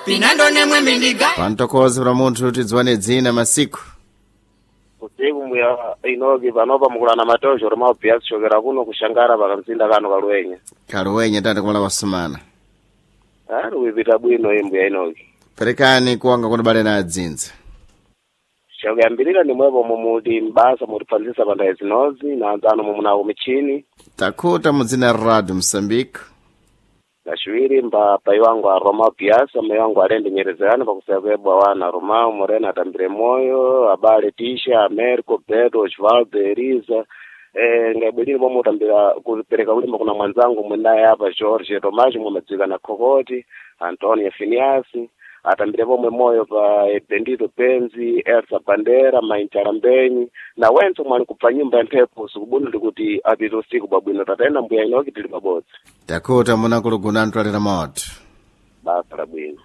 Pinando nemwe mindiga. Pantokoze pa munthu tidziwane dzina masiku. Usiku mbuya Inoki, panopa mukulana matojo roma bia kuchokera kuno kushangara pakamzinda kano kaluwenya. Kaluwenya tati kumala kwasumana. Ari kuipita bwino iyi mbuya Inoki. Perekani kuwanga kunibale na adzinza. Chakuyambirira nimwepo mumuti mbasa mutiphanzisa pa ndayi zinozi na anzano mumunako michini. Takhuta mudzina Radio Mosambike. Kachiwiri mba pai wangu a Roma Biasa, mai wangu alende nyerezerano pakusaya kuebwa wana Romao Moreno atambire moyo, abale Tisha, Americo, Beto, Osvaldo, Eliza. Ngaibwelire pomwe utambira kupereka kulimba kuna mwanzangu mwenaye apa George Tomaji mwamadzika na Kokoti, Antonio Finiasi, atambire pomwe moyo pa Bendito Penzi, Elsa Bandera, Mainchara Mbenyi na wenso mwali kupfa nyumba ya mphepo usiku kuti apite usiku bwabwino tatena mbuya Inoki tili pabodzi. Takhuta munakuluguna antwalira moto. Basa la bwino.